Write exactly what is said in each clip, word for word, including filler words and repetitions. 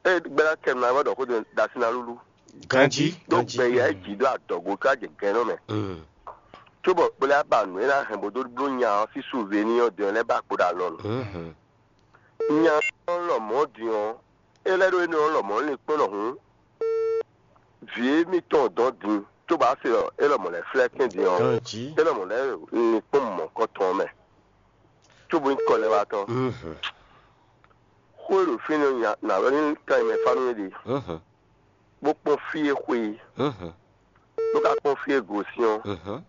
É gbɛ́ ná kɛ nɔ wɛ ɖɔ xó ɖo ɖo así ná lúlú. Ganjí, ɖó ganjí. Gbɛ yɛ é jǐ ɖó adɔgo ká jɛ gɛ̌n nɔ mɛ. Mm. Cóbɔ kplé á ba nǔ e ná hɛn bó dó bló nya ɔ́ sín suvéní ɔ́ din ɔ́ lɛ́ ba kpo ɖo alɔ nɔ. Mhm. Nya ɔ́ lɔmɔ̌ din ɔ́, é lɛ́ ɖó énɛ́ ɔ́ lɔmɔ̌ lin kpɔ́n ɖɔ hǔn vǐ émítɔn dɔn din, cóbɔ á se ɖɔ é lɔmɔ̌ lɛ́ flɛ́ kɛ́n din ɔ́, Ganjí. É lɔmɔ̌ lɛ́ lin kpɔ́n mɔ̌kɔtɔn ɔ́ mɛ, cóbɔ nyí kɔlɛ́watɔ́. Mhm. Xó e ɖo fínɛ́ ɔ́ nya nǎ wɛ ní kan nyi mɛ fá nú mì ɖe, Mhm. bó kpɔ́n fí e xwe é, Mhm. bó ka kpɔ́n fí e gosín ɔ́, Mhm.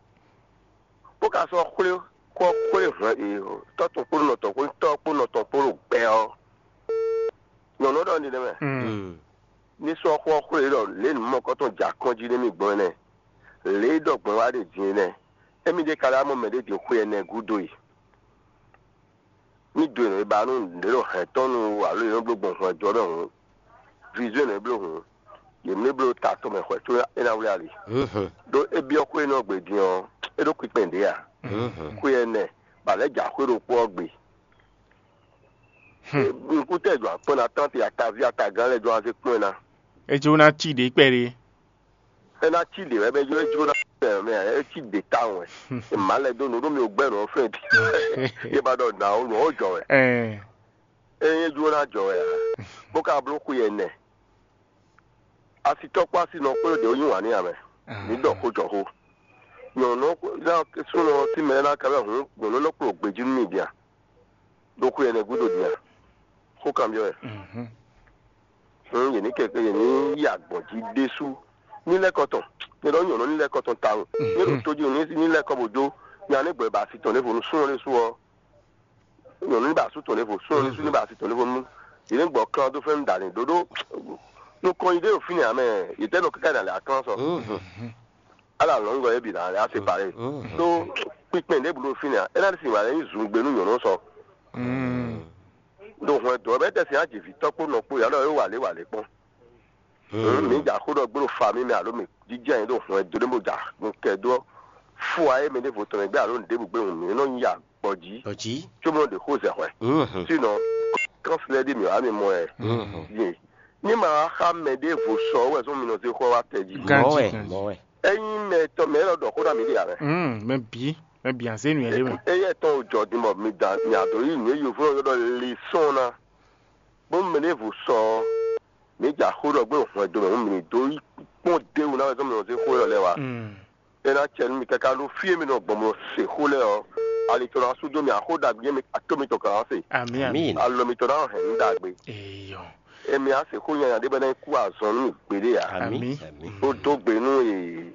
bó ka sɔ́ xwlé kɔ xwlé hwɛ e tɔ́ tɔn kpó nɔ tɔn kpó tɔ́ kpó nɔ tɔn kpó ɖo gbɛ ɔ́. Nyɔ̌nu ɔ́ ɖɔ nínɛ́ mɛ, Mm. Mm. ní sɔ́ xó ɔ́ xwlé ɖɔ lě nǔ mɔkɔ́tɔn jɛ akɔ́n jí nú mì gbɔn énɛ́, lě e ɖɔ gbɔn wá ɖe din énɛ́, émí ɖé ka lɛ́ wá mɔ mɛɖé din xwe ɛnɛ gúdo e. Ní do e nɔ e ba nú nǔɖé ɖo hɛ̌n tɔn nu alo e nɔ bló gbɔn hwɛndo ɔ́ mɛ hǔn, vizo e nɔ e bló hǔn, yě mlé bló ta tɔn mɛ hwɛ̌ có é ná wlí ali. Mhm. Ɖó é byɔ́ xwé énɛ́ ɔ́ gbe din ɔ́, é ɖó kpinkpɛn ɖě ǎ. Mhm. Xwé ɛnɛ, bɔ a lɛ́ jɛ axwé ɖokpó ɔ́ gbe. Hmm. Nukúntɛ́ jɔ akpɔ́n ná tánti ataví atagán lɛ́ɛ jɔ azé kpɔ́n ɛ ná. É jló ná cí ɖě kpɛɖé. É ná cí ɖě wɛ bɛ jló é jló ná tɛ mɛ é cí ɖě tawun wɛ. È má lɛ dó nǔ ɖó mi ò gbɛ́ nǔ ɔ́ fɛ́n. Yé ba ɖɔ nǎ ó nǔ ɔ́ jɔ wɛ. Ɛɛ. É nyí jló ná jɔ wɛ ǎ. Bó ka bló xwe ɛnɛ. Asitɔ́ kpó asinɔ kpó ɖě ó yí wǎn n'i ǎ mɛ. Mǐ ɖɔ xó jɔ xó. Nyɔ̌nu ɔ́ ná súnnu ɔ́ sín mɛ ná ka wɛ hǔn nyɔ̌nu ɔ́ nɔ kplɔ́n gbejí nú mì din a? Ɖo xwe ɛnɛ gúdo din a? Xó kanbyɔ́ wɛ. Mhm. Hǔn yě ní kɛkɛ yě ní yi agbɔ̌n jí ɖésú. Ní lɛ́ kɔ tɔn. Nyɛ ɖɔ nyɔ̌nu ní lɛ́ kɔ tɔn tawun. Ní ɖo tó jí ní ní lɛ́ kɔ bó jó. Nya ní gbɛ ba asi tɔn ɖěvo nú súnnu ɖésú ɔ́. Nyɔ̌nu ní ba asú tɔn ɖěvo. Súnnu ɖésú ní ba asi tɔn ɖěvo nú. Yě ní gbɔ klán dó fɛ́nú dǎni ɖóɖó. Nukɔn yi ɖé ɖo fínɛ́ ǎ mɛ. Yě tɛ́ nɔ káká yi nǎ lɛ aklán sɔ. Mhm. Ala lɔ̌ngbɔ é bǐ ná lɛ́ á séparé. Mhm. Ɖó kpikpɛn ɖěbǔ ɖo fínɛ́ ǎ. É ná ɖi sin wǎ lɛ́ nyí zungbe nú nyɔ̌nu sɔ. Mm. Ɖo hwɛndo ɔ́ mɛ tɛ́ sin á jǐ vǐ tɔ́ kpó nɔ kpó yǎ ɖɔ é wa lě wa lě kpɔ́n. Mm. Mǐ ja xó ɖɔ gbé ɖo fa mì mɛ alo mǐ jínjɔ́n ayǐ ɖo hwɛndo ɖé bó ja nukɛ dó fua é mɛ ɖěvo tɔn mɛ gbé alo nǔɖébǔ gbé hǔn mǐ nɔ nyi ya gbɔ jí. Ɔjí. Cóbɔ ɖe xó zɛ hwɛ. Mhm. Sinɔ kɔ́nsilɛ ɖi mǐ wá mi mɔ ɛ. Mhm. Yé. Ní ma wá xa mɛ ɖěvo sɔ wɛ zɔn mi nɔ zé xɔ wá tɛ jí. Ganjí, Mɔwɛ, ganjí. Mɔwɛ. Ényí mɛ tɔn mɛ élɔ́ ɖɔ xó ná mi ɖe ǎ mɛ. Mm, mɛ bǐ, mɛ bǐ azé nǔ yɛ ɖé mɛ. Eyɛ tɔn jɔ din bɔ mi da mi ado yi nǔ e yovo ɔ́ ɖɔ le sɔn ná. Bó mɛ ɖěvo sɔ ɔ́, mi ja xó ɖɔ gbé hwɛndo mɛ hǔn mi dó yi kpɔ́n déwu ná wɛ zɔn mi nɔ zé xó élɔ́ lɛ́ɛ wá. Mm. É ná cɛ nú mi káká ɖó fí e mi nɔ gbɔn bó se xó lɛ́ɛ ɔ́, ali tɔn ná sú dó mi axó ɖagbe e mi ato mitɔn kan ná se. Amǐ, amǐ. Amín. Alɔ mitɔn ná hɛn nǔ ɖagbe. Eyɔ. Emi á se xó nyanya ɖé bɔ é ná yi kú azɔn nú mi gbeɖé ǎ. Amín. Amín. Amín. Ó dó gbe nú e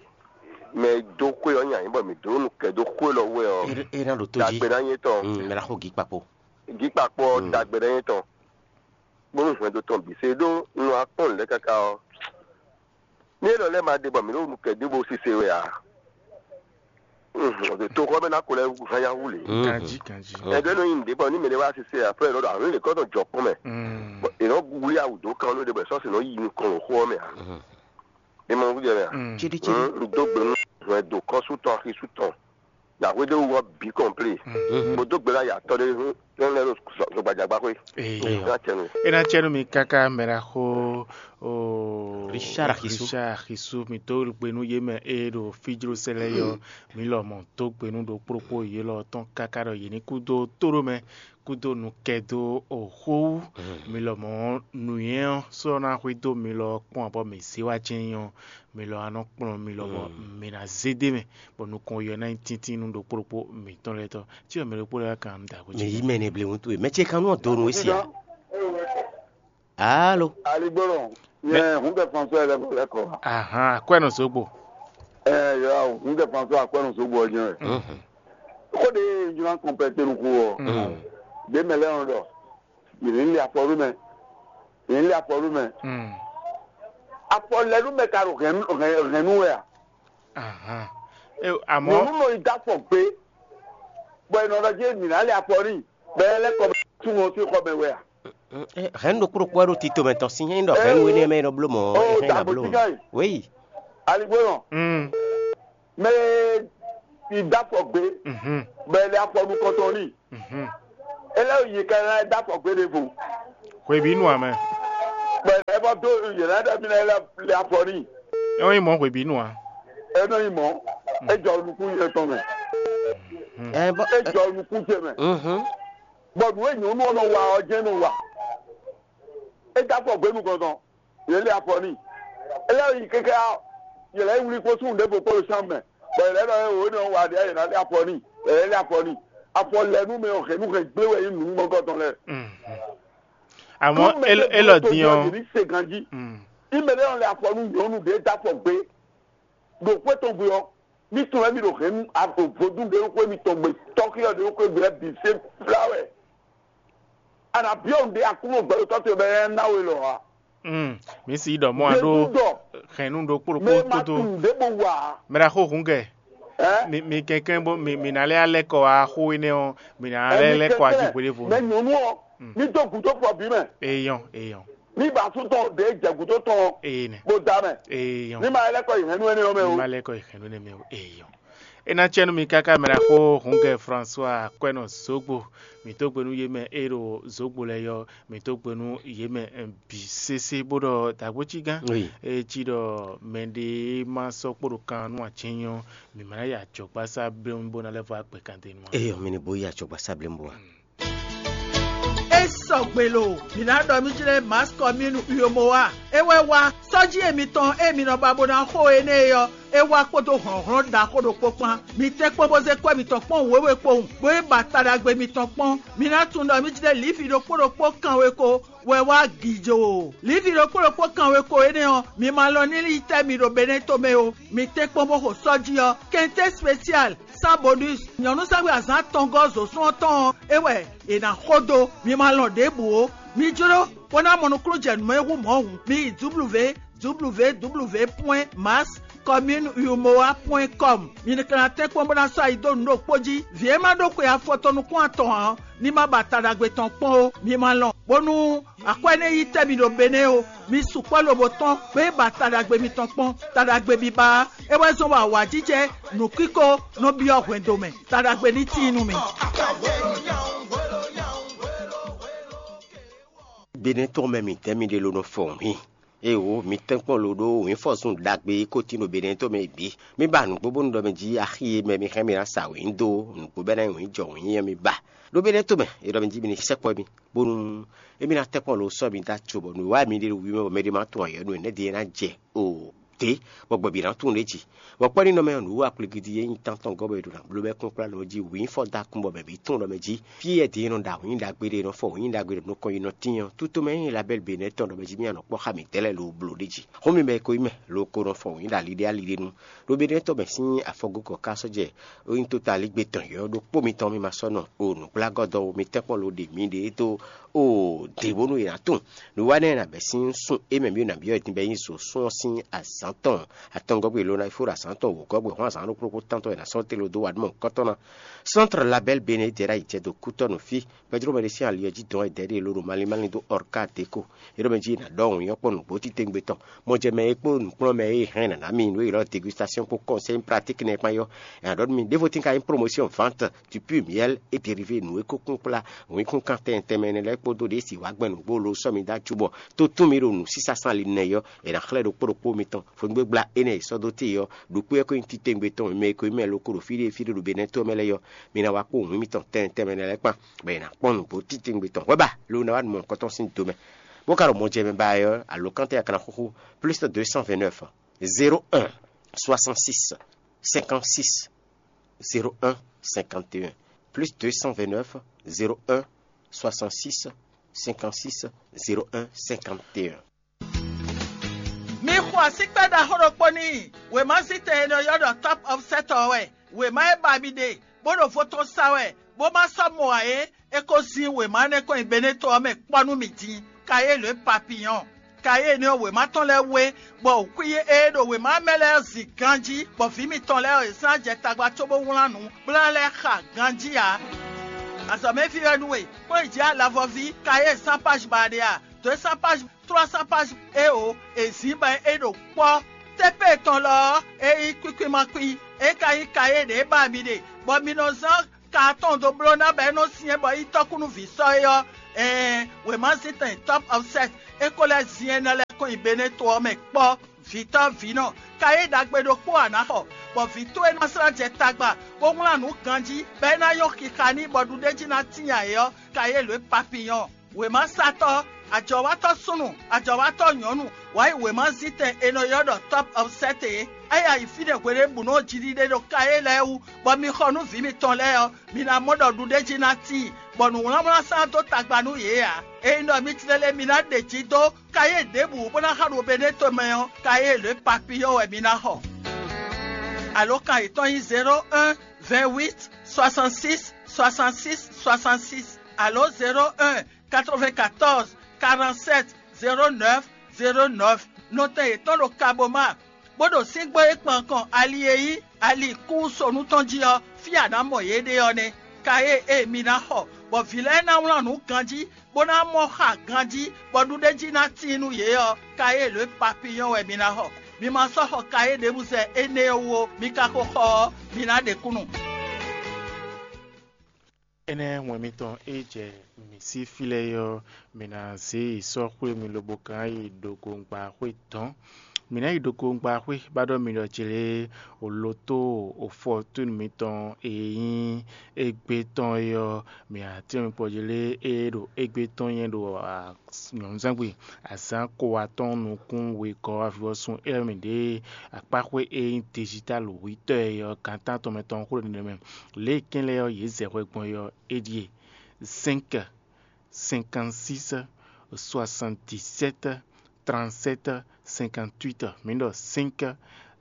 mɛ e dó xwé ɔ́ nyi anyǐ bɔ mǐ dó nú kɛ dó xwé lɔ wɛ ɔ́, É é ná ɖo tó jí. Ɖagbe ná nyí tɔn. Mm, mɛ ná xo gǐ kpakpo. Gǐkpakpo ɔ́, Mm. Ɖagbe ná nyí tɔn. Bónú hwɛndo tɔn bǐ se ɖó un wá kpɔ́n nǔɖé káká ɔ́, ní élɔ́ lɛ́ɛ ma ɖe bɔ mǐ ɖo nukɛ ɖěvo sise wɛ ǎ. Toxɔ mɛ ná ko lɛ́ hán yá hu lě. Ganjí, ganjí. Ɛgbẹ́ nɔ nyi nǔɖé bɔ ní mɛ ɖé wá sise ǎ, fɛ́ nɔ ɖo àwọn lè kɔ́ tɔn jɔ kpɔ́n mɛ. Mm. Bɔ è nɔ wlí awu dó kan ló ɖe bɔ è sɔ́ sǐ nɔ yi nukɔn ɖo xó ɔ́ mɛ ǎ. Mhm. È mɔ nukúnjɛ mɛ a? Mm. Céɖícéɖí. Hǔn un dó gbe nú hwɛndo kɔ́sútɔn axisútɔn. Yǎhwéɖéwú ɔ́ bǐ kɔnplé. Mhm. Bó dó gbe ná ya tɔ́ ɖé hún tɔ́ lɛ́ɛ ɖo zɔgbajagbáxwé. Ee. Ná tɛnu. É ná cɛ nú mi káká mɛ ɖaxó o Richard Axisu. Richard Axisu, mi dó gbe nú yě mɛ e ɖo fíjlósɛ lɛ́ɛ yɔ, mi lɔmɔ̌ dó gbe nú ɖokpóɖokpó yě lɔ tɔn káká ɖɔ yě ní kú dó tóɖó mɛ, kú dó nukɛ dó o xó wú. Mi lɔmɔ̌ nǔnywɛ́ ɔ́ sɔ́ ná xwedó mi lɔ kpɔ́n abɔ mi zé wá jɛ́n nyí ɔ́, mi lɔ wá nɔ kplɔ́n mi lɔ bɔ mi ná zé d'é mɛ, bɔ nukɔn yɔ ná nyí tíntín nú ɖokpó ɖokpó mǐtɔn lɛ́ɛ tɔn. Cí wɛ mɛ ɖokpó lɛ́ɛ wá kan nǔ ɖagbe Mɛ jí. Yí mɛ ne ble wuntun e. Mɛ ce kan nú ɔ́ donu e sia. Alo. Aligbolo, nyɛ hun kɛ François lɛ bɔ lɛ kɔ. Ahan, akwɛ nɔ zogbo. Ɛ yɔ, hun kɛ François akwɛ nɔ zogbo ɔjɔ. Mhm. Ko de juna kɔnpɛtɛ nu ko. Mhm. De mɛ lɛ ɔn dɔ. Yìnyín lé afɔ nú mɛ. Yìnyín lé afɔ nú mɛ. Mm. Afɔ lɛ nú mɛ ka ɖo hɛn hɛn hɛn nú wɛ a? Ahan. E, àmọ́ Nyɔnu nɔ yi dó afɔ gbé. Bɔ è nɔ ɖɔ jɛ mǐ ná lé afɔ n'i. Bɛ ɛ lɛ́ kɔ bɛ tún wọn sín xɔ mɛ wɛ a? Mm, eh, hɛn ɖokpó ɖokpó wɛ ɖo tito mɛ tɔn sín nyɛ ɖɔ hɛn wé nɛ mɛ ɖɔ bló mɔ. Oh, hɛn ɖo bló mɔ. Wéyi. Aligbó nɔ. Mm. Mɛ yi dó afɔ gbé. Mhm. Bɛ ɛ lé afɔ nukɔntɔn n'i. Mhm. Ele yi ka ná dó afɔ gbé ɖěvo. Hweví nu amɛ. Bɛ ɛ Ɖó yě lɛ́ɛ ɖɔ mì lɛ́ lɛ afɔ n'i. É nyí mɔ̌ hwebǐnu ǎ. É nɔ nyí mɔ̌. É jɔ nukún yɛ tɔn mɛ. Ɛ bɔ É jɔ nukún ce mɛ. Mhm. Bɔ nǔ e nyɔ̌nu ɔ́ nɔ wa ɔ́ jɛ́n nɔ wa. É dó afɔ gbě nukɔntɔn. Yě lɛ afɔ n'i. É lɛ́ yi kɛ́kɛ́ ɔ́, yě lɛ́ yi wlí kpó súnnu ɖěvo kpó ɖo sán mɛ. Bɔ yě lɛ́ ɖɔ é wǒ nɔ wa ɖě yě ná lɛ afɔ n'i. Yě lɛ́ lɛ afɔ n'i. Afɔ lɛ nú mɛ ɔ́ hɛ̌nnu hɛn gblé wɛ nyí nǔ mɔgɔtɔn lɛ́ɛ. Àmọ́ Nú mɛ é- ɖěvo élɔ́ tó din byɔ́ ɔ́, yě ní se ganjí. Mm. Ní mɛ ɖé nɔ lɛ afɔ nú nyɔ̌nu ɖě dó afɔ gbé. Ɖo xwé tɔn gbe ɔ́, mí tunwun wɛ mì ɖo hɛ̌nnu vodún ɖé xwé mitɔn gbe, tɔ́xyɔ ɖé xwé gbe lɛ́ɛ bǐ se flá wɛ. A nǎ byɔ́ nǔɖé Aklúnɔ gbɛɖotɔ́ towe bɔ é ná ná we lɔ ǎ. Mm, mǐ si ɖɔ mɔ a ɖó Jezu ɖɔ hɛ̌nnu ɖokpó mɛ ɖokpó ma kútó. Tunwun nǔɖé bó wa ǎ. Mɛ ɖaxó hǔngɛ, Ɛ? Mi, mi kɛnklɛ́n bó mi, mi ná lɛ́ alɛ́ kɔ wá xó énɛ́ ɔ́, mi ná lɛ́ lɛ́ kɔ wá jí hweɖévo. Mɛ nyɔ̌nu ɔ́, Mm. mí dó gǔdo fɔ bǐ mɛ. Eyɔn, eyɔn, Mí ba sú tɔn ɖě jɛ gǔdo tɔn eye nɛ, bó dá mɛ. Eyɔn. Ní ma lɛ́ kɔ yi hɛ̌nnu énɛ́ ɔ́ mɛ Ní o. Ma lɛ́ kɔ yi hɛ̌nnu énɛ́ mɛ o, eyɔn. É ná cɛ́ nú mi káká mɛ ɖaxó hǔngɛ François Akwɛ́nɔ Zogbo. Mǐ dó gbe nú yě mɛ e ɖo Zogbo lɛ́ɛ yɔ, mǐ dó gbe nú yě mɛ eh, bǐ sésé bó ɖɔ dǎgbó cí gán. Oui. E cí ɖɔ mɛɖé ma sɔ́ kpo ɖo kan nú acɛ́nyɔ, mǐ ma ná yi ajɔ̌gbásá bléwún bó ná lɛ́ vɔ agbɛkandenu ǎ. Eyɔn, mi ní bó yi ajɔ̌gbásá bléwún bó a? E sɔgbe lo, mǐ ná ɖɔ mí jlɛ́ Mass Commune Uyomowa. É wɛ wá sɔ́jí e mitɔn e mi nɔ ba bó ná xo énɛ́ é ɔ́, é wá kpódó hlɔ̌nhlɔ́n ɖaxó ɖokpó kpán. Mi tɛ́nkpɔ́n bó zé kwɛ́ mitɔn kpɔ́n wěwe kpowun, bó yi ba ta ɖagbe mitɔn kpɔ́n. Mi ná tunwun ɖɔ mí jlɛ́ Livi ɖokpó ɖokpó kanweko wɛ wá gǐjǒ. Livi ɖokpó ɖokpó kanweko énɛ́ ɔ́, mi ma lɔn ní yi tɛ́ mi ɖo Benɛ́to mɛ o. Mi tɛ́nkpɔ́n bó xo sɔ́jí ɔ́, kɛntɛ́ spesial, Sans bonus, nyɔ̌nu sɛ́xwé azǎn atɔngɔ́ zǒsún ɔ́ tɔn ɔ́, é wɛ è nǎ xo dó. Mi ma lɔn ɖěbǔ ó. Mi jló bó ná mɔ nukúnnú jɛ nǔ e hú mɔ̌ hǔn. Mi yi www www point mass commune umoa point com. Mi ka ná tɛ́nkpɔ́n bó ná sɔ́ ayi dó nǔ ɖokpó jí. Vǐ e ma ɖó xwe afɔtɔn nukún atɔn ǎ ɔ́, ní ma ba ta ɖagbe tɔn kpɔ́n ó. Mi ma lɔn, bónú akwɛ́ ní yi tɛ́ mi ɖo Benɛ́ ó. Mi sukpɔ́ lobo tɔ́n, bó yi ba ta ɖagbe mitɔn kpɔ́n. Ta ɖagbe biba ɔ́, é wɛ zɔ́n bɔ awǎjijɛ nǔkíko nɔ byɔ́ hwɛndo mɛ. Ta ɖagbe ní tíin nú mi. Benɛ́ tɔn mɛ mǐtɛn mi ɖe lo nɔ fɔn hwin. Ée wo mi tɛ́nkpɔ́n lo ɖó wǐnfɔ́zun ɖagbe e ko tín ɖo Benɛ́ tɔn mɛ bǐ. Mi ba nǔgbó bónú ɖɔ mɛ jí axi e mɛ mi hɛn mi ná sa wǐn dó nǔgbó bɛ́ ná nyí wǐn jɔ wǐn ɔ́ mi ba. Ɖó Benɛ́ tɔn mɛ, è ɖɔ mɛ jí mi ní sɛkpɔ́ mi, bónú émí ná tɛ́nkpɔ́n lo sɔ́ mi dó aco bɔ nǔwiwa e mi ɖe ɖo wǐ mɛ bɔ mɛ ɖé ma tunwun ayɔ̌ nú énɛ́ ɖíe ná jɛ o. Dě, bɔ gbɛ̌bǐ ná tunwun ɖě jí. Bɔ kpɔ́ ní nɔ mɛ ɔ́, nǔwiwa kplígídí e nyí tántɔn gɔ́ bɔ è ɖo ná bló bɛ́ kúnkplá lɔ jí wǐnfɔ́ dó akún bɔ mɛ bǐ tunwun ɖɔ mɛ jí fí e din e nɔ ɖo awǐnyi ɖagbe ɖé e nɔ fɔ wǐnyi ɖagbe ɖo nukɔn yi nɔ tín ɔ́, tútomɛ e nyí Labɛ́li Benɛ́ tɔn ɖɔ mɛ jí mì nɔ kpɔ́ xá mǐtɛn lɛ́ɛ lo bló ɖ'é jí. Xó mi mɛ e ko nyí mɛ lo ko nɔ fɔ wǐnyi ɖo ali ɖé ali ɖé nu. Ɖó Benɛ́ tɔn mɛ sín afɔgókɔ ka sɔ́ jɛ ó nyí tótalígbe tɔn yɔ̌yɔ́ ɖokpó mitɔn mì ma sɔ́ nɔ o nǔgblágɔ́dɔwú mi tɛ́nkpɔ́n lo ɖe miɖée dó o dě bónú è nǎ tunwun. Nǔwanɛ e nǎ bɛ́ sín sun é mɛ mì nǎ byɔ́ din bɔ é nyí zǒsún ɔ́ sín azǎn tɔn atɔngɔ́gbé lo ná yi fó ɖo azǎn tɔn wǒgɔ́gbé hɔn azǎn ɖokpó ɖokpó tántɔn è nǎ sɔ́ tlé lo dó wa ɖó mɔ kɔ́tɔ́ ná. Centre Label Bénin Dera yi jɛ do kútɔ́ nǔ fí. Gbɛjló mɛ ɖé sín ali ɔ́ jí dɔn e dɛ̌ ɖé lóɖo malín malín dó Ɔrká Deko. É ɖɔ mɛ jí è nǎ ɖɔ wǐnyɔ́ kpɔ́n nǔgbó titewungbe tɔn. Mɔjɛmɛ e kpó nǔkplɔ́nmɛ e hɛn nǎ ná mi nǔ e ylɔ́ dégustation kpó conseil pratique nɛ́ kpán yɔ́. È nǎ ɖɔ nú mi ɖěvo tín ka nyí promotion vente du pur miel et dérivé nǔ e ko kún kplá wǐnkúnkan tɛnmɛ tɛnmɛ énɛ́ lɛ́ɛ kpódó ɖě si wǎ gbɛn nǔgbó lo sɔ́ mi dó acu bɔ tó tún mi ɖo nǔsísá sán ali nɛ́ yɔ́. È nǎ xlɛ́ ɖokpó ɖokpó mitɔn fɔngbégbla énɛ́ e sɔ́ dó te ɔ́, ɖokpó ɔ́ ko nyí titewungbe tɔn mɛ e ko nyí mɛ lo ko ɖo fí ɖé fí ɖé ɖo Benɛ́ to ɔ́ mɛ lɛ́ɛ yɔ́. Mi ná wá kpó wǐn mitɔn tɛnmɛ tɛnmɛ énɛ́ lɛ́ɛ kpán. Bɔ è nǎ kpɔ́n nǔgbó titewungbe tɔn hwɛ̌ ba lo ná wá nǔ mɔ̌hunkɔtɔn sín do mɛ. Bó ka ɖo mɔjɛmɛ ba ɛ ɔ́, alǒkantɛn akana xúxú plus deux cent vingt-neuf, zéro un, soixante-six, cinquante-six, zéro un, cinquante et un, plus deux cent vingt-neuf, zéro un, soixante-six, cinquante-six, zéro un, cinquante et un. Mi xo asíkpɛ́ ɖaxó ɖokpó n'i. Wěmazítɛn e nɔ ylɔ́ ɖɔ Top Offset ɔ́ wɛ. Wěma e ba mi ɖe, bó ɖo vo tɔn sa wɛ, bó ma sɔ́ mɔ ǎ é, é ko zín wěma énɛ́ kɔn nyi Beneto ɔ́ mɛ kpɔ́ nú mì din. Kayéle papiyɔn. Kayéle ɔ́, wěma tɔn lɛ́ɛ wé, bɔ xwí e ɖo wěma mɛ lɛ́ɛ zin ganjí, bɔ vǐ mitɔn lɛ́ɛ ɔ́, yě sɔ́ ná jɛ tagba cóbó wlán nǔ, bó ná lɛ́ xa ganjí ǎ. Azɔ̌mɛví wɛ nú we, kplɔ́n yi jǐ alavɔví, Kayéle sán páj ba ɖe a? Dǒ e sán páj trois cents pages eo è zǐn bɔ é ɖo kpɔ́. Tépée tɔn lɔ ɔ́, é nyí kwíkwíma kwí, é ka nyí kayé ɖě ba mi ɖe, bɔ mi nɔ zán ka atɔn dó bló ná bɔ é nɔ syɛ́n bɔ é nyí tɔ́kúnúví sɔ́ é ɔ́, ɛɛn, wěmazíntɛn Top Offset É ko lɛ́ zin énɛ́ lɛ́ɛ kɔn nyi Beneto ɔ́ mɛ kpɔ́. Vǐtɔ́ vǐnɔ, ka yí ɖagbe ɖokpó ǎ ná xɔ, bɔ vǐ towe ná slá jɛ tagba, bó wlán nǔ ganjí, bɔ é ná nyɔ́ xixa n'i, bɔ ɖuɖéjí ná tíin ayǐ ɔ́, ka yí lǒ e papiyɔ́n. Wěmasatɔ́, ajɔ̌watɔ́ súnnu, ajɔ̌watɔ́ nyɔ̌nu, wǎ yi wěmazíntɛn è nɔ ylɔ́ ɖɔ Top of Set é. É yi ayǐ fínɛ́ hweɖěbǔnu ɔ́ jiɖiɖe ɖo Kayé lɛ́ɛ wú, bɔ mi xɔ nú vǐ mitɔn lɛ́ɛ ɔ́, mi ná mɔ ɖɔ ɖuɖéjí ná tíin, bɔ nǔwlánwlán sán dó tagba nú yě ǎ. Ényí ɖɔ mi tlélé mi ná ɖe jǐ dó Kayé ɖěbǔ bó ná xa ɖo Beneto mɛ ɔ́, Kayé lě papiyɔ́ wɛ mi ná xɔ. Alǒkan yětɔn nyí zéro un, vingt huit, soixante six, soixante six, soixante six, alo zéro un, quatre-vingt-quatorze, quarante-sept, zéro neuf, zéro neuf. Nɔtɛn yětɔn ɖo Kaboma, bó ɖo síngbó e kpan kɔn ali e nyí ali kúsonu tɔn jí ɔ́, fí a nǎ mɔ yě ɖe ɔ́ nɛ́. Kayé e mi ná xɔ, bɔ vǐ lɛ́ɛ ná wlán nǔ ganjí, bó ná mɔ xa ganjí, bɔ ɖuɖéjí ná tíin nú yě ɔ́, kayé lě papiyɔ́n wɛ mi ná xɔ. Mi ma sɔ́ xɔ kayé ɖěbǔ zɛ énɛ́ ɔ́ wú ó, mi ka ko xɔ ɔ́, mi ná ɖe kúnnu. Énɛ́ wɛn mitɔn e jɛ mǐ sí fí lɛ́ɛ é ɔ́, mǐ ná zě yi sɔ́ xwé mi lobo gán yi ɖokongba xwé dɔ̌n. Mǐ ná yi ɖokongba xwé bá ɖɔ mi ɖɔ jlé o loto o fɔtúnu mitɔn e nyí égbé tɔn é ɔ́, mǐ ná tlɛ́n mi kpɔ́ jlé e ɖo égbé tɔn nyɛ ɖo nyɔ̌nuzángbe azǎn ko atɔ́ɔ́n nukún wegɔ́ avivɔsun élɔ́ mǐ ɖe akpáxwé e nyí digital wítɔ́ e ɔ́ gǎn tántɔn mɛ tɔn xó ɖo nɛnɛ mɛ. Lě e kɛ́n lɛ́ɛ ɔ́ yě zɛ hwɛ gbɔn é ɔ́, é ɖíe: cinq, cinquante-six, soixante-dix-sept, trente-sept, cinquante-huit. Mǐ ɖɔ cinq,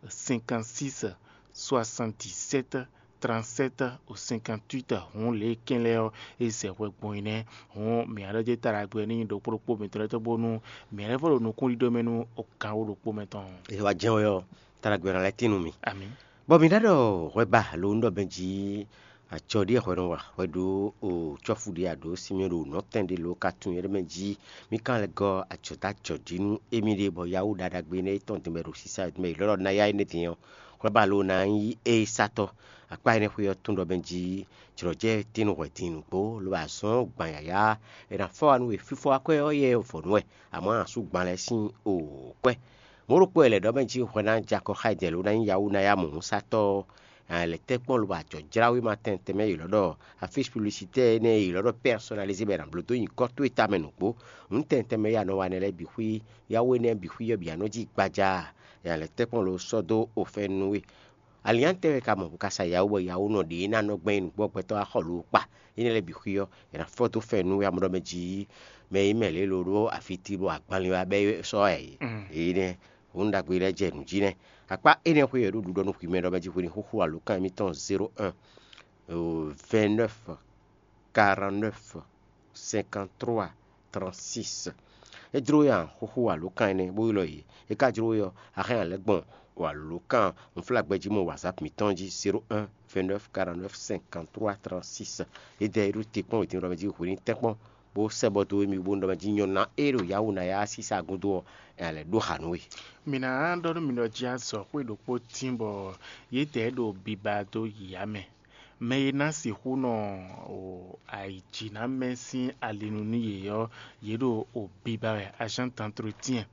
cinquante-six, soixante-dix-sept, trente-sept, cinquante-huit. Hǔn lě e kɛ́n lɛ́ɛ ɔ́, é zɛ hwɛ gbɔn é nɛ́. Hǔn mǐ ná ɖɔ jɛ taɖagbe ɔ́ ní nyí ɖokpó ɖokpó mǐtɔn lɛ́ɛ tɔn bónú mǐ ná lɛ́ vɔ ɖo nukúnɖíɖó mɛ nú gǎn wǒ ɖokpó mɛ tɔn. È wá jɛ́n wɛ ɔ́, taɖagbe ɔ́ ná lɛ́ tín nú mì. Amǐ. Bɔ mǐ ná ɖɔ hwɛ ba lo un ɖɔ bɛ́ jí acɔ́ ɖíe hwɛ nɔ wa hwɛ ɖó o cɔ́fu ɖé a ɖǒ Simeɔn ɖo nɔ̌tɛn ɖé lo ka tunwun nyɛ ɖé mɛ jí mì ka lɛ́ gɔ́ acɔ̌ dó acɔ̌ jí nú émí ɖé bɔ Yawu ɖaɖagbe énɛ́ e tɔn din bɔ è ɖo sisa mɛ è lɔ́ ɖɔ ná yá énɛ́ din ɔ́, hwɛ ba lo ná nyí é sátɔ́. Akpá énɛ́ xwé ɔ́ tún ɖɔ mɛ jí jlɔ̌jɛ tín nú hwɛ din nǔgbó lobo azɔn gban yǎyá è nǎ fɔ wá nú we fífɔ akwɛ́ ɔ́ yɛ vɔ̌ nú wɛ, amɔ̌ a nǎ sú gban lɛ́ɛ sín o kwɛ́. Mɔ̌ ɖokpó e lɛ̌ ɖɔ mɛ jí hwɛ ná jɛ akɔ xá jɛ lǒ ná nyí Yawu ná yá mɔ̌hunsátɔ́ ɔ́, a nǎ lɛ́ tɛ́ kpɔ́n lobo ajɔ̌ jlá wéma tɛnmɛ tɛnmɛ yě lɔ́ ɖɔ afísi publicitaire énɛ́ e yě lɔ́ ɖɔ personnalisé bɔ è nǎ bló dó nyǐkɔ towe tamɛ nǔgbó. Nǔ tɛnmɛ tɛnmɛ e a nɔ wa nɛ́ lɛ́ɛ bǐ xwí, Yawu énɛ́ bǐ xwí ɔ́ bǐ a nɔ jí gbaja a? A nǎ lɛ́ tɛ́ kpɔ́n lo sɔ́ dó ofɛ́n nú we. Alǐnnyá tɛ́ wɛ ka mɔ bɔ ka sa Yawu bɔ Yawu nɔ ɖě ná nɔ gbɛn nyi nǔgbó gbɛtɔ́ wá xɔ lo kpa? Énɛ́ lɛ́ɛ bǐ xwí ɔ́, è nǎ fɔ́ dó fɛ́nú wɛ amlɔ mɛ jí mɛ e mɛ lě ló ɖó afiti ɖo agbanlin wá bɛ́ sɔ́ ɛ. Èyí nɛ́, hǔn ɖagbe lɛ́ɛ jɛ nǔ jí nɛ́. Akpá énɛ́ xwé wɛ ɖó ɖuɖɔ nú hwi mɛ ɖɔ mɛ jí hwe ní xúxú alǒkan mǐtɔn zéro un, vingt-neuf, quarante-neuf, cinquante-trois, trente-six. É jló we a xúxú alǒkan énɛ́ bó ylɔ́ yě. É ka jló we ɔ́, a hɛn a lɛ́ gbɔn alǒkan unflágbɛjí mɔ WhatsApp mǐtɔn jí zéro un, vingt-neuf, quarante-neuf, cinquante-trois, trente-six. É dɛ é ɖó te kpɔ́n wětin ɖɔ mɛ jí hwe ní tɛ́nkpɔ́n bó sɛ́ bɔ dó émí bónú ɖɔ mɛ jí nyɔ̌ná e ɖo Yawu ná yá sísá gúdo ɔ́, è nǎ lɛ́ ɖó xǎ nú we. Mǐ ná ɖɔ nú mi ɖɔ jí azɔ̌ xwé ɖokpó tín bɔ yědɛɛ ɖo biba dó yǐyá mɛ. Mɛ e ná sixú nɔ o ayǐjínamɛ sín ali nu nú yě ɔ́, yě ɖo o biba wɛ, agent d'entretien,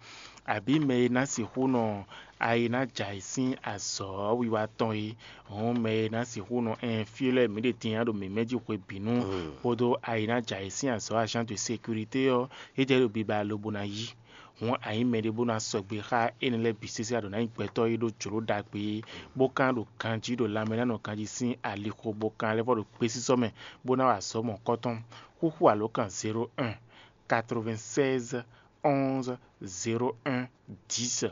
abǐ mɛ e ná sixú nɔ ayi ná jɛ ayǐ sín azɔ̌ wiwa tɔn é. Hɔn mɛ e ná sixú nɔ ɛn fí lɛ́ɛ mǐ ɖe din nya ɖo mǐmɛ́ jí hwebǐnu kpódó ayi ná jɛ ayǐ sín azɔ̌ agent de sécurité ɔ́, é jɛ ɖo biba lobo ná yí. Hɔn a nyǐ mɛɖé bó ná sɔgbe xá énɛ́ lɛ́ɛ bǐ sésé, a ɖǒ ná nyí gbɛtɔ́ e ɖó jlǒ ɖagbe, bó ka ɖo ganjí ɖo lanmɛ ná nɔ ganjí sín alixo, bó ka lɛ́ vɔ ɖo gbesisɔ mɛ, bó ná wa azɔ̌ mɔ̌kɔtɔn. Xúxú alǒkan zéro un, quatre-vingt-seize, onze, zéro un, dix,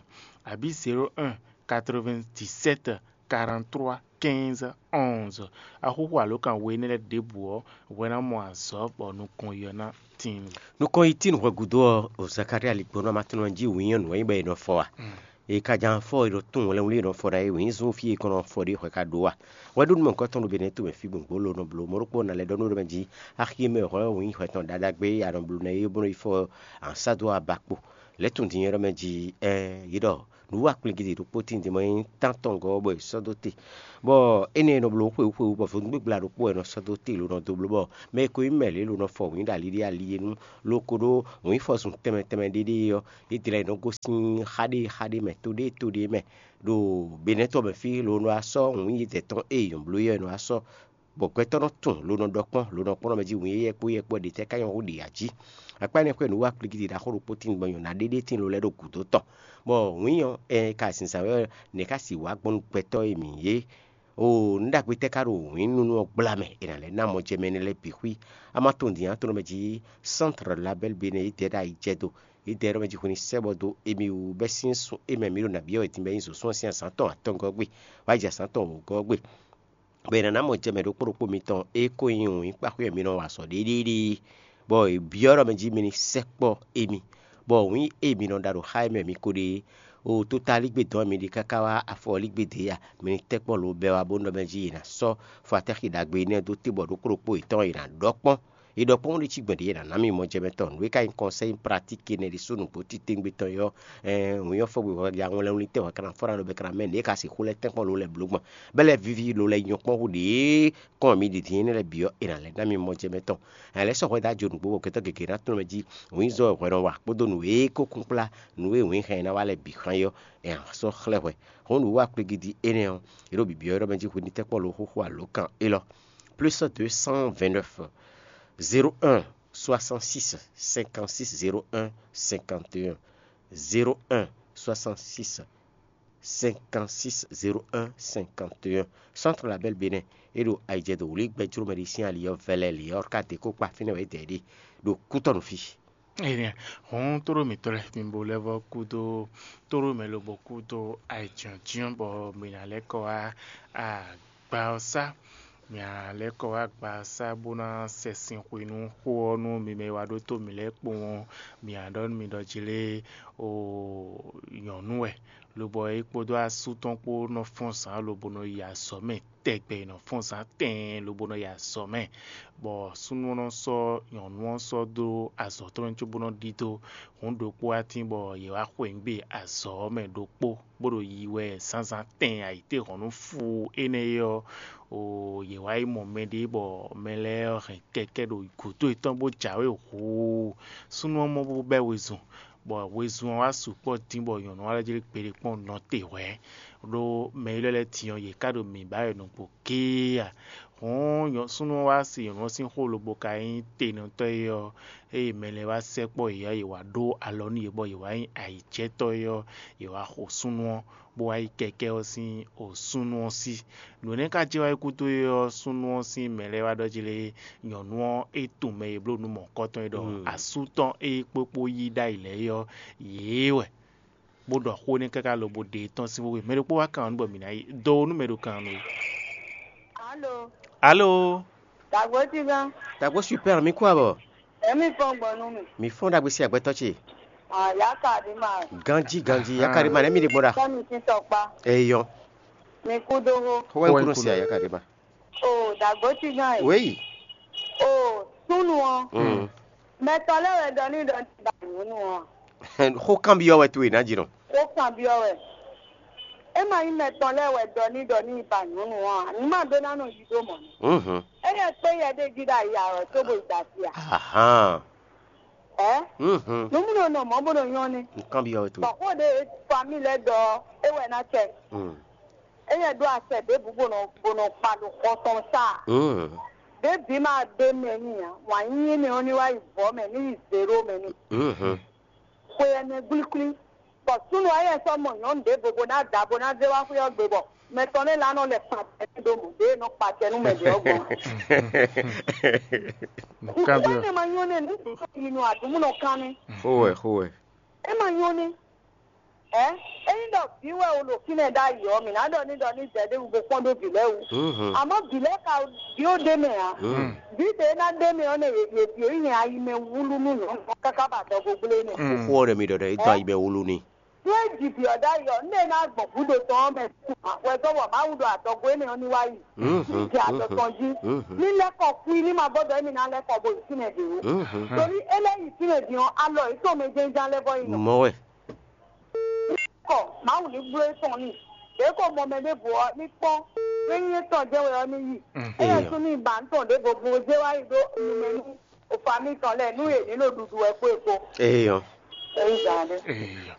abǐ zéro un, quatre-vingt-dix-sept, quarante-trois, quinze, onze. Axúxú alǒkan we énɛ́ lɛ́ɛ ɖěbǔ ɔ́, hwɛ ná mɔ azɔ̌ bɔ nukɔn yi ɔ́ ná tíin. Nukɔn yi tín hwɛ gúdo ɔ́, o Zakalía ligbɔnú amatɔnɔ jí wǐnyɔ́ nǔ wɛ nyí bɔ è nɔ fɔ a? È ka ján fɔ è nɔ tún wlɛ́nwlí è nɔ fɔ ɖ'ayǐ wǐnyí zún fí è kɔn nɔ fɔ ɖe hwɛ ka ɖó a? Hwɛ ɖó nú mɔ̌hunkɔtɔn ɖo Benɛ́to mɛ fí gbɔn gbǒ lo nɔ bló mɔ̌ ɖokpó ná lɛ́ ɖɔ nú ɖɔ mɛ jí axi e mɛ hwɛ wǐnyí hwɛ tɔn ɖaɖagbe e a nɔ bló ná é bó nɔ yi fɔ ansá dó aba kpo. Lɛ̌ tunwun din ɔ́ mɛ jí, ɛɛ, yě ɖɔ nǔwiwa kplígídi ɖokpó tíin din bɔ é nyí tántɔngɔ́ ɔ́, bɔ è sɔ́ dó te. Bɔ énɛ́ e nɔ bló xwewú xwewú bɔ vodúngbígbla ɖokpó wɛ nɔ sɔ́ dó te lo nɔ dó bló, bɔ mɛ e ko nyí mɛ lě lo nɔ fɔ wǐin ɖo ali ɖé ali e nu, lo ko ɖó wǐnfɔzun tɛnmɛ tɛnmɛ ɖé ɖée ɔ́, yě dlɛ́ yě nɔ gosín xá ɖé xá ɖé mɛ, to ɖé to ɖé mɛ, ɖo Benɛ́ tɔn mɛ fí, lo nɔ wá sɔ́ wǐin yědɛɛ tɔn e è nyɔ̌ bló é ɔ́, è nɔ wá sɔ́ bɔ gbɛtɔ́ nɔ tunwun, lo nɔ ɖɔ kpɔ́n, lo nɔ kpɔ́n ɖɔ mɛ jí wǐn éyɛ́ kpó éyɛ́ kpó ɔ́ ɖě tɛ́ ká nyɔ́ hú ɖě ǎ jí. Akpá énɛ́ xwé nǔwiwa kplígídi ɖaxó ɖokpó tíin bɔ nyɔ̌ná ɖé ɖé tíin lo lɛ́ ɖo gǔdo tɔn, bɔ wǐin ɔ́, ɛ ka zinzǎn wɛ ɔ́, nɛ̌ ká sixú wá gbɔn nú gbɛtɔ́ e mǐ nyí é? Oo, nǔ ɖagbe tɛ́ ká ɖo wǐnnúnú ɔ́ gbla mɛ è nǎ lɛ́ ná mɔjɛmɛ énɛ́ lɛ́ɛ bǐ xwí? A ma tunwun dǐn ǎ, tonɔ mɛ jí Centre Label Bénin yi dɛ̌ ɖo ayi jɛ do, yi dɛ̌ ɖɔ mɛ jí hwenu sɛ́ bɔ dó émí wú bɛ́ sín sun e mɛ mǐ ɖo nǎ byɔ́ wɛ din bɔ é nyí zǒsúnɔ sín azǎn tɔn atɔngɔ́ gbe, wá yi jɛ azǎn tɔn wǒgɔ́ gbe. Bɔ è nǎ ná mɔ jɛ mɛ ɖokpó ɖokpó mitɔn e ko nyí wǐnkpaxwé e mi nɔ wa azɔ̌ ɖéɖéɖée, bɔ è byɔ́ ɖɔ mɛ jí mi ní sɛkpɔ́ émí, bɔ wǐn e mi nɔ ɖa ɖo xá e mɛ mi ko ɖe é, o totaligbé dɔn e mi ɖe káká wá afɔligbé dě ya, mi ní tɛ́ kpɔ́n lo bɛ́ wá bónú ɖɔ mɛ jí è nǎ sɔ́ fɔ atɛ́xi ɖagbe énɛ́ dó te bɔ ɖokpó ɖokpó yětɔn è nǎ ɖɔ kpɔ́n. È ɖɔ kpɔ́n ɖé cí gbɛ̌n ɖě è nǎ ná mi mɔ jɛ mɛ tɔn. Nǔ e ka nyí kɔnsɛ́yi pratíki énɛ́ ɖésú nǔgbó titewungbe tɔn é ɔ́, ɛɛn, wǐn ɔ́ fɔ́gbé hwɛ ya ŋwlɛ́nwlí tɛ́ hwɛ ka ná fɔ́n ɖo bɛ ka ná mɛ nǔ e ka sixú lɛ́ tɛ́nkpɔ́n lo lɛ́ blǒ gbɔn, bɔ é lɛ́ víví lo lɛ́ nyɔ́ kpɔ́n hú ɖě kɔn mi ɖi din énɛ́ lɛ́ɛ bǐ ɔ́, è nǎ lɛ́ ná mi mɔ jɛ mɛ tɔn. È nǎ lɛ́ sɔ́ hwɛ dó ajo nǔgbó bɔ gbɛtɔ́ gěgé ná tunwun mɛ jí wǐnzɔ́ e hwɛ nɔ wa kpódó nǔ e ko kún kplá nǔ e wǐn hɛn ná wa lɛ́ɛ bǐ xán é ɔ́, è nǎ sɔ́ xlɛ́ hwɛ. Hɔn nǔ wa kplégídí énɛ́ ɔ́, è ɖo bǐbyɔ́ ɖɔ mɛ jí hwenu tɛ́nkpɔ́n lo xóxó alǒkan élɔ́. Plus deux cent vingt-neuf, zéro un, soixante-six, cinquante-six, zéro un, cinquante et un, zéro un, soixante-six, cinquante-six, zéro un, cinquante et un. Centre Label Bénin, é ɖo ayijɛ do wlí gbɛjló mɛ ɖé sín ali ɔ́ vɛlɛ lě ɔ́ ká dě kó kpa fínɛ́ wɛ é dɛ ɖe ɖo kútɔ́nú fí. Énɛ́ hɔn tlóló mǐtɔn lɛ́ɛ mi bo lɛ́ vɔ́ kúdó tlóló mɛ lobo kúdó ayǐjínjɔ́n bɔ mǐ ná lɛ́ kɔ wá agba ɔ́ sá. Mǐ ná lɛ́ kɔ wá agba ɔ́ sá bó ná sɛ sin xwe nú xó ɔ́ nú mi mɛ e wá ɖótó mǐ lɛ́ɛ kpowun ɔ́. Mǐ ná ɖɔ nú mi ɖɔ jlé o nyɔ̌nu wɛ, lobɔ é kpódó asú tɔn kpó nɔ fɔ́n zǎn lobo nɔ yi azɔ̌ mɛ tɛgbɛ, è nɔ fɔ́n zǎn tɛɛn lobo nɔ yi azɔ̌ mɛ, bɔ súnnu ɔ́ nɔ sɔ́ nyɔ̌nu ɔ́ sɔ́ dó azɔ̌ tɔn mɛ cóbó nɔ ɖidó hǔn ɖokpó atín bɔ yě wá xweyǐgbe azɔ̌ ɔ́ mɛ ɖokpó, bó ɖo yi wɛ zǎnzǎn tɛɛn ayǐtéhɔ̌nnu fuu énɛ́ é ɔ́, o yě wá yi mɔ mɛɖé bɔ mɛ lɛ́ɛ ɔ́ hɛn kɛkɛ́ ɖo gǔdo yětɔn bó jǎwe huu. Súnnu ɔ́ mɔ bó bɛ́ wezun, bɔ wezun ɔ́ wá sukpɔ́ dín bɔ nyɔ̌nu ɔ́ lɛ́ jlé gbeɖé kpɔ́n nɔ te hwɛ̌, ɖó mɛ élɔ́ lɛ́ɛ din ɔ́, yě ká ɖo mǐ ba wɛ nukpo géé a? Hǔn súnnu ɔ́ wá se nyɔ̌nu ɔ́ sín xó lobo ka nyí tenɔtɔ́ é ɔ́, ée mɛ lɛ́ɛ wá sɛkpɔ́ yě ɔ́, yě wá ɖó alɔ nú yě bɔ yě wá nyí ayǐjɛ́tɔ́ é ɔ́, yě wá xo súnnu ɔ́, bó wá yi kɛkɛ́ ɔ́ sín o súnnu ɔ́ sí. Nǔ énɛ́ ka jɛ wá yi gúdo é ɔ́, súnnu ɔ́ sín mɛ lɛ́ɛ wá ɖɔ jí lé, nyɔ̌nu ɔ́, é tunwun mɛ e bló nǔ mɔ̌hunkɔtɔn é ɖɔ asú tɔn e kpókpó yí ɖ'ayǐ lɛ́ɛ é ɔ́, yě wɛ, bó ɖɔ xó n'i káká lobo ɖe tɔ́n sín xwé. Mɛ ɖokpó wá kan ɔ́ nú bɔ mǐ ná yi do nú mɛ ɖo kan ɔ́ nú we. Alo, Alo, dagbo ti gán, dagbo super, mi kú abɔ. Emi fɔn gbɔn nú mi. Mi fɔn dagbe si agbɛtɔ ce. Ah, ya ka di ma. Ganji ganji, ya ka di ma ne mi di gbɔn da. Sɔmi ti tɔkpa. Eyɔn. Mi kú dó hó. Xɔ wɛ kunu si a ya ka di ma. O dagbo ti gán yi. Weyi. O sunu ɔ. Mm. Mɛtɔ lɛ wɛ dɔ ni dɔ ni ba nyɔnu ɔ. Xó kanbyɔ wɛ to e ná jínɔ. Xó kanbyɔ wɛ. E ma nyí mɛtɔ lɛ wɛ dɔ ni dɔ ni ba nyɔnu ɔ. Numa do na nɔ yi do mɔ. Mhm. Eyɛ kpe yɛ ɖe jí ɖe ayi awɔ tó bo da fia. Ahan. Ɛ? Mhm. Numu nɔ nɔ mɔ bo nɔ nyɔ ne. Kanbyɔ wɛ to. Bɔn xó de famille lɛ dɔ e wɛ na cɛ. Mm. Eyɛ ɖo asɛ ɖěbǔ bó nɔ bó nɔ kpa ɖo xɔ tɔn sá. Mm. Ɖěbǐ ma ɖe mɛ n'i ǎ. Wǎn yíyí nɛ ɔ́ ní wá yi vɔ̌ mɛ ní yi zěɖó mɛ n'i. Mhm. Xwe ɛnɛ gblígblí. Bɔ súnnu ɔ́ yɛ sɔ́ mɔ nyɔ̌nu ɖěvo bó ná da bó ná zé wá xwé ɔ́ gbe bɔ mɛ tɔn lɛ́ɛ lɛ́ nɔ lɛ kpa acɛ nú ɖó mɔ̌ ɖě e nɔ kpa acɛ nú mɛ ɖě ɔ́ gbɔn. Nǔkanbyɔ́. Nǔkpɛ́nɛ́ ma nyɔ́ nɛ́ nǔ yi nɔ aɖǔmúnɔ kán nɛ́. Xó wɛ, xó wɛ. É ma nyɔ́ nɛ́. Ɛ ényí ɖɔ vǐ wɛ wo ɖo fínɛ́ ɖ'ayǐ ɔ́, mǐ ná ɖɔ ní ɖɔ ní zɛ ɖé wú bó kpɔ́n ɖó vǐ lɛ́ɛ wú. Mhm. Àmọ́ vǐ lɛ́ɛ ka vǐ ó ɖ'é mɛ ǎ. Mhm. Vǐ ɖě e ná ɖ'é mɛ ɔ́ nɛ yě yě yě nyi ayi mɛ wúlú nú nyɔ̌nu ɔ́ káká ba adɔgo gblé nɛ. Mm. Xó ɔ́ ɖɔ mi ɖɔ ɖɔ é dɔn ayi mɛ wúlú n'i. Nú é ji vǐ ɔ́ ɖ'ayǐ ɔ́, nú é ná gbɔn gǔdo tɔn ɔ́ mɛ wɛ dó bɔ Mawu ɖo adɔgo énɛ́ ɔ́ ní wá yi. Jɛ adɔ tɔn jí. Ní lɛ́kɔ kú ní ma gbɔdɔ émi ná lɛ́kɔ bo yi fínɛ́ ɖě ó. Torí é lɛ́ yi fínɛ́ din ɔ́, alɔ yě tɔn mɛ jɛ́njɛ́n lɛ́ vɔ yi nɔ. Mɔ wɛ. Kɔ Mawu ní bló é tɔn ní. Ɖě ko mɔ mɛ ɖěvo ɔ́ ní kpɔ́n. Nú nyí étɔn jɛ́n wɛ ɔ́ ní yi. Éyɛ́ sú ní ba nǔ tɔn ɖěvo bo zé wá yi ɖó numɛ nú òfa mitɔn lɛ́ɛ nú yě ní ɖo ɖuɖu wɛ kpó e kpó. Eyɔ. Èyí zǎn ɖé. Eyɔ.